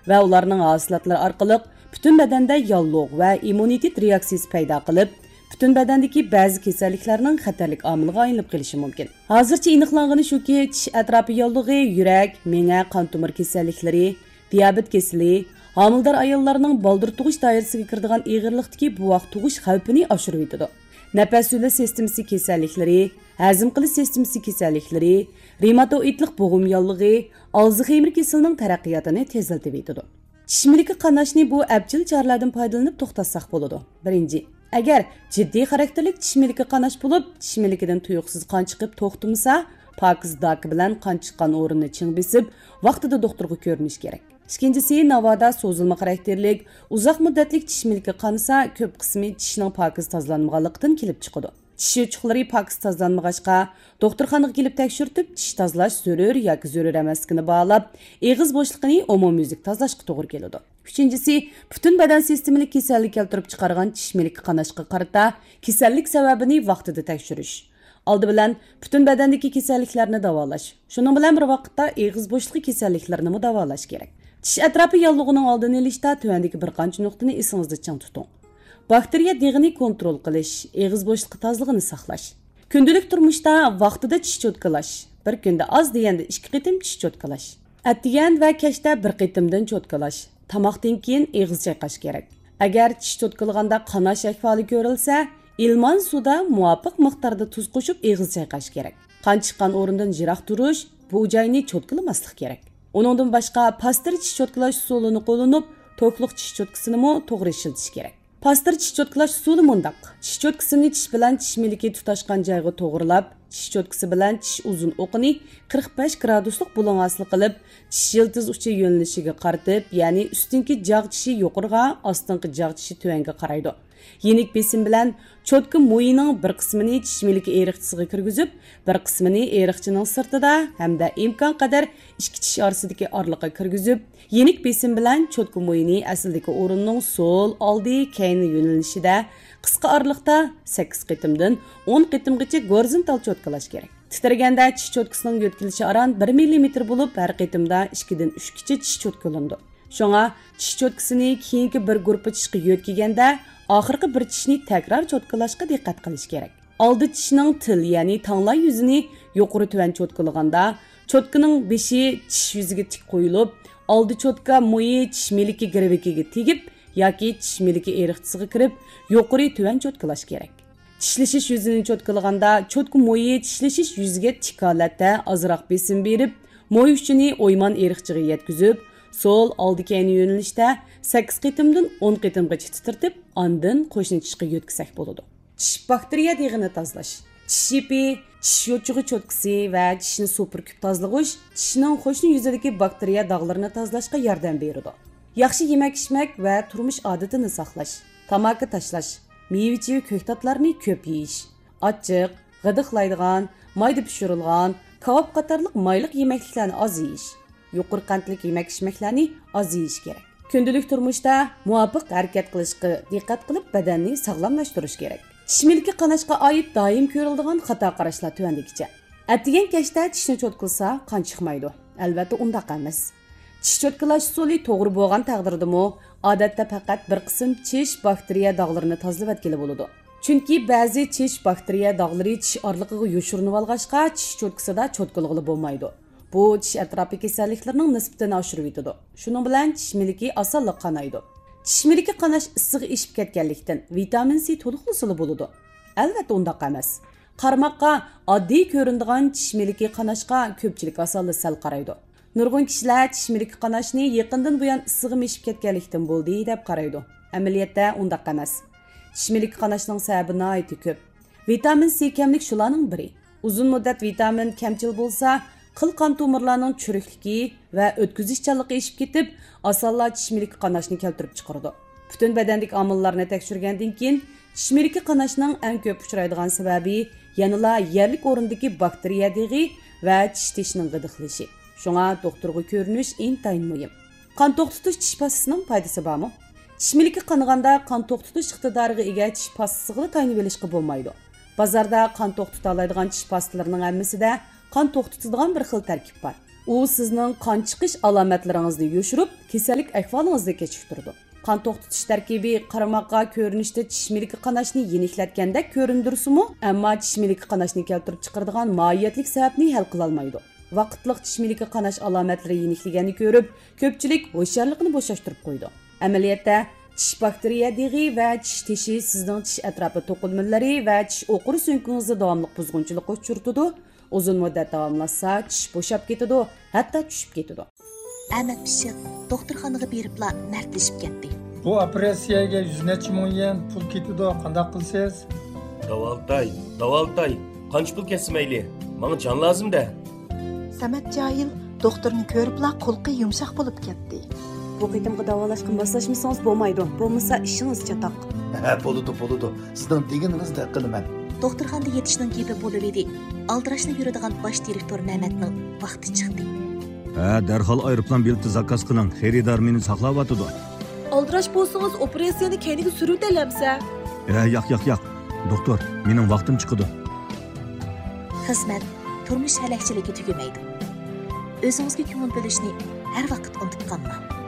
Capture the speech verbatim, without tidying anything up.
ۋە ئۇلارنىڭ ھاسىلاتلىرى ئارقىلىق پۈتۈن بەدەندە ياللۇغ ۋە ئىممۇنىتېت رېئاكسىيىسى پەيدا قىلىپ، پۈتۈن بەدەندىكى بەزى كېسەللىكلەرنىڭ خەتەرلىك ئامىلىغا ئايلىنىپ قېلىشى مۇمكىن. ھازىرچە ئېنىقلانغىنى شۇكى، چىش ئەتراپى ياللۇغى يۈرەك، مېڭە، قان تومۇر كېسەللىكلىرى، دىيابېت كېسىلى، ھامىلىدار ئاياللارنىڭ بالدۇر تۇغۇش دائىرىسىگە كىرىدىغان ئېغىرلىقتىكى بوۋاق تۇغۇش خەۋپىنى ئاشۇرۇۋېتىدۇ. نەپەس يولى سىستېمىسى كېسەللىكلىرى، ھەزىم قىلىش سىستېمىسى كېسەللىكلىرى، رېماتوئىدلىق بوغۇم ياللۇغى، ئالزخېيمېر كېسىلىنىڭ تەرەققىياتىنى تېزلىتىۋېتىدۇ. چىش مىلىكى قاناشنى بۇ ئەپچىل چارىلەردىن پايدىلىنىپ توختاتساق بولىدۇ. بىرىنچى، ئەگەر جىددىي خاراكتېرلىك چىش مىلىكى قاناش بولۇپ، چىش مىلىكىدىن تۇيۇقسىز قان چىقىپ توختىمىسا، پاكىز داكا بىلەن قان چىققان ئورۇننى چىڭ بېسىپ، ۋاقتىدا دوختۇرغا كۆرۈنۈش كېرەك. ئىككىنچىسى، ناۋادا سوزۇلما خاراكتېرلىك، ئۇزاق مۇددەتلىك چىش مىلىكى قانىسا، كۆپ قىسمى چىشنىڭ پاكىز تازىلانمىغانلىقىدىن كېلىپ چىقىدۇ. چىش يوچۇقلىرى پاكىز تازىلانمىغاچقا، دوختۇرخانىغا كېلىپ تەكشۈرتۈپ، چىش تازىلاش زۆرۈر ياكى زۆرۈر ئەمەسلىكىنى باھالاپ، ئېغىز بوشلۇقىنى ئومۇميۈزلۈك تازىلاشقا توغرا كېلىدۇ. ئۈچىنچىسى، پۈتۈن بەدەن سىستېمىلىك كېسەللىك كەلتۈرۈپ چىقارغان چىش مىلىكى قاناشقا قارىتا كېسەللىك سەۋەبىنى ۋاقتىدا تەكشۈرۈش. ئالدى بىلەن پۈتۈن بەدەندىكى كېسەللىكلەرنى داۋالاش، شۇنىڭ بىلەن بىر ۋاقىتتا ئېغىز بوشلۇقى كېسەللىكلىرىنىمۇ داۋالاش كېرەك. چىش ئەتراپى ياللۇغىنىڭ ئالدىنى ئېلىشتا تۆۋەندىكى بىر قانچە نۇقتىنى ئېسىڭىزدە چىڭ تۇتۇڭ. باكتېرىيە دېغىنى كونترول قىلىش، ئېغىز بوشلۇقى تازىلىقىنى ساقلاش. كۈندىلىك تۇرمۇشتا ۋاقتىدا چىش چوتكىلاش، بىر كۈندە ئاز دېگەندە ئىككى قېتىم چىش چوتكىلاش. ئەتىگەن ۋە كەچتە بىر قېتىمدىن چوتكىلاش. تاماقتىن كېيىن ئېغىز چايقاش كېرەك. ئەگەر چىش چوتكىلىغاندا قاناش ئەھۋالى كۆرۈلسە، ئىلمان سۇدا مۇۋاپىق مىقداردا تۇز قوشۇپ ئېغىز چايقاش كېرەك. قان چىققان ئورۇندىن يىراق تۇرۇش، بۇ جاينى چوتكىلىماسلىق كېرەك. ئۇنىڭدىن باشقا، پاستېر چىش چوتكىلاش ئۇسۇلىنى قوللىنىپ، توكلۇق چىش چوتكىسىنىمۇ توغرا ئىشلىتىش كېرەك. پاستېر چىش چوتكىلاش ئۇسۇلى مۇنداق: چىش چوتكىسىنى چىش بىلەن چىش مىلىكى تۇتاشقان جايغا توغرىلاپ، چىش چوتكىسى بىلەن چىش ئۇزۇن ئوقىنى قىرىق بەش گرادۇسلۇق بۇلۇڭ ھاسىل قىلىپ، چىش يىلتىز ئۇچى يۆنىلىشىگە قارىتىپ، يەنى ئۈستۈنكى جاغ چىشى يۇقىرىغا، ئاستىنقى جاغ چىشى تۆۋەنگە قارايدۇ. يېنىك بېسىم بىلەن چوتكا مويىنىڭ بىر قىسمىنى چىش مىلىكى ئېرىقچىسىغا كىرگۈزۈپ، بىر قىسمىنى ئېرىقچىنىڭ سىرتىدا ھەمدە ئىمكانقەدەر ئىككى چىش ئارىسىدىكى ئارىلىققا كىرگۈزۈپ، يېنىك بېسىم بىلەن چوتكا مويىنى ئەسلىدىكى ئورۇننىڭ سول، ئالدى، كەينى يۆنىلىشىدە قىسقا ئارىلىقتا سەككىز قېتىمدىن ئون قېتىمغىچە گورىزونتال چوتكىلاش كېرەك. تىترىگەندە چىش چوتكىسىنىڭ يۆتكىلىشى ئاران بىر مىللىمېتىر بولۇپ، ھەر قېتىمدا ئىككىدىن ئۈچكىچە چىش چوتكىلىنىدۇ. شۇڭا چىش چوتكىسىنى كېيىنكى بىر گۇرۇپپا چىشقا يۆتكىگەندە، ئاخىرقى بىر چىشنى تەكرار چوتكىلاشقا دىققەت قىلىش كېرەك. ئالدى چىشنىڭ تىل، يەنى تاڭلا يۈزىنى يۇقىرى تۆۋەن چوتكىلىغاندا، چوتكىنىڭ بېشى چىش يۈزىگە تىك قويۇلۇپ، ئالدى چوتكا مويى چىش مىلىكى گىرۋىكىگە تېگىپ ياكى چىش مىلىكى ئېرىقچىسىغا كىرىپ، يۇقىرى تۆۋەن چوتكىلاش كېرەك. چىشلىشىش يۈزىنى چوتكىلىغاندا، چوتكا مويى چىشلىشىش يۈزىگە تىك ھالەتتە ئازراق بېسىم بېرىپ، موي ئۇچىنى ئويمان ئېرىقچىغا يەتكۈزۈپ، سول، ئالدى، كەينى يۆنىلىشتە سەككىز قېتىمدىن ئون قېتىمغىچە تىترىتىپ، ئاندىن قوشنا چىشقا يۆتكىسەك بولىدۇ. چىش باكتېرىيە دېغىنى تازىلاش. چىش يىپى، چىش يوچۇقى چوتكىسى ۋە چىشنى سۇپۇرۇپ تازىلىغۇچ چىشنىڭ قوشنا يۈزىدىكى باكتېرىيە داغلىرىنى تازىلاشقا ياردەم بېرىدۇ. ياخشى يېمەك-ئىچمەك ۋە تۇرمۇش ئادىتىنى ساقلاش. تاماكا تاشلاش، مېۋە-چېۋە، كۆكتاتلارنى كۆپ يېيىش. ئاچچىق، غىدىقلايدىغان، مايدا پىشۇرۇلغان، كاۋاپ قاتارلىق مايلىق يېمەكلىكلەرنى ئاز يېيىش. يۇقىرى قەنتلىك يېمەك-ئىچمەكلەرنى ئاز يېيىش كېرەك. كۈندىلىك تۇرمۇشتا مۇۋاپىق ھەرىكەت قىلىشقا دىققەت قىلىپ، بەدەننى ساغلاملاشتۇرۇش كېرەك. چىش مىلىكى قاناشقا ئائىت دائىم كۆرۈلىدىغان خاتا قاراشلار تۆۋەندىكىچە. ئەتىگەن كەچتە چىشنى چوتكىلىسا، قان چىقمايدۇ. ئەلۋەتتە، ئۇنداق ئەمەس. چىش چوتكىلاش ئۇسۇلى توغرا بولغان تەقدىردىمۇ، ئادەتتە پەقەت بىر قىسىم چىش باكتېرىيە داغلىرىنى تازىلىۋەتكىلى بولىدۇ. چۈنكى بەزى چىش باكتېرىيە داغلىرى چىش ئارىلىقىغا يوشۇرۇنۇۋالغاچقا، چىش چوتكىسىدا چوتكىلىغىلى بولمايدۇ. بۇ چىش ئەتراپى كېسەللىكلىرىنىڭ نىسبىتىنى ئاشۇرۇۋېتىدۇ. شۇنىڭ بىلەن چىش مىلىكى ئاسانلا قانايدۇ. چىش مىلىكى قاناش ئىسسىقى ئېشىپ كەتكەنلىكتىن، ۋىتامىن سى تولۇقلىسىلا بولىدۇ. ئەلۋەتتە، ئۇنداق ئەمەس. قارىماققا ئاددىي كۆرۈنىدىغان چىش مىلىكى قاناشقا كۆپچىلىك ئاسانلا سەل قارايدۇ. نۇرغۇن كىشىلەر چىش مىلىكى قاناشنى يېقىندىن بۇيان ئىسسىغىم ئېشىپ كەتكەنلىكتىن بولدى، دەپ قارايدۇ. ئەمەلىيەتتە ئۇنداق ئەمەس. چىش مىلىكى قاناشنىڭ سەۋەبى ناھايىتى كۆپ. ۋىتامىن سى كەملىك شۇلارنىڭ بىرى. ئۇزۇن مۇددەت ۋىتامىن كەمچىل بولسا، قىل قان تومۇرلارنىڭ چۈرۈكلۈكى ۋە ئۆتكۈزۈشچانلىقى ئېشىپ كېتىپ، ئاسانلا چىش مىلىكى قاناشنى كەلتۈرۈپ چىقىرىدۇ. پۈتۈن بەدەندىكى ئامىللارنى تەكشۈرگەندىن كېيىن، چىش مىلىكى قاناشنىڭ ئەڭ كۆپ ئۇچرايدىغان سەۋەبى يەنىلا يەرلىك ئورۇندىكى باكتېرىيە دېغى ۋە چىش تېشىنىڭ غىدىقلىشى. شۇڭا دوختۇرغا كۆرۈنۈش ئىنتايىن مۇھىم. قان توختىتىش چىش پاستىسىنىڭ پايدىسى بارمۇ؟ چىش مىلىكى قانىغاندا قان توختىتىش ئىقتىدارىغا ئىگە چىش پاستىسىغىلا تايىنىۋېلىشقا بولمايدۇ. بازاردا قان توختىتالايدىغان چىش پاستىلىرىنىڭ ھەممىسىدە قان توختىتىدىغان بىر خىل تەركىب بار. ئۇ سىزنىڭ قان چىقىش ئالامەتلىرىڭىزنى يوشۇرۇپ، كېسەللىك ئەھۋالىڭىزنى كېچىكتۈرىدۇ. قان توختىتىش تەركىبى قارىماققا كۆرۈنۈشتە چىش مىلىكى قاناشنى يېنىكلەتكەندەك كۆرۈندۈرسىمۇ، ئەمما چىش مىلىكى قاناشنى كەلتۈرۈپ چىقىرىدىغان ماھىيەتلىك سەۋەبنى ھەل قىلالمايدۇ. ۋاقىتلىق چىش مىلىكى قاناش ئالامەتلىرى يېنىكلىگەننى كۆرۈپ، كۆپچىلىك ھوشيارلىقىنى بوشاشتۇرۇپ قويىدۇ. ئەمەلىيەتتە، چىش باكتېرىيە دېغى ۋە چىش تېشى سىزنىڭ چىش ئەتراپى توقۇلمىلىرى ۋە چىش ئوقۇرى سۆڭىكىڭىزدە داۋاملىق بۇزغۇنچىلىققا ئۇچرىتىدۇ. ئۇزۇن مۇددەت داۋاملاشسا، چىش بوشاپ كېتىدۇ، ھەتتا چۈشۈپ كېتىدۇ. ئەمەت پىششىق دوختۇرخانىغا بېرىپلا مەردلىشىپ كەتتى. بۇ ئوپېراتسىيەگە يۈز نەچچە مىڭ يۈەن پۇل كېتىدۇ، قانداق قىلىسىز؟ داۋالىتاي، داۋالىتاي، قانچە پۇل كەتسە مەيلى، ماڭا جان لازىم-دە. سەمەت جاھىل دوختۇرنى كۆرۈپلا قۇلىقى يۇمشاق بولۇپ كەتتى. بۇ قېتىمقى داۋالاشقا ماسلاشمىسىڭىز بولمايدۇ، بولمىسا ئىشىڭىز چاتاق. ھە، بولىدۇ، بولىدۇ. سىزنىڭ دېگىنىڭىزدەك قىلىمەن. دوختۇرخانىدا يېتىشنىڭ گېپى بولۇۋىدى. ئالدىراشلا يۈرىدىغان باش دىرېكتور مەمەتنىڭ ۋاقتى چىقتى. ھە، دەرھال ئايروپىلان بېلىتى زاكاز قىلىڭ، خېرىدار مېنى ساقلاۋاتىدۇ. ئالدىراش بولسىڭىز، ئوپېراتسىيەنى كەينىگە سۈرۈۋېتەلەمسە؟ ھە، ياق، ياق، ياق. دوختۇر، مېنىڭ ۋاقتىم چىقىدۇ. خىزمەت، تۇرمۇش ھەلەكچىلىكى تۈگىمەيدۇ. ئۆزىڭىزگە كۆڭۈل بۆلۈشنى ھەر ۋاقىت ئۇنتۇپ قالماڭ.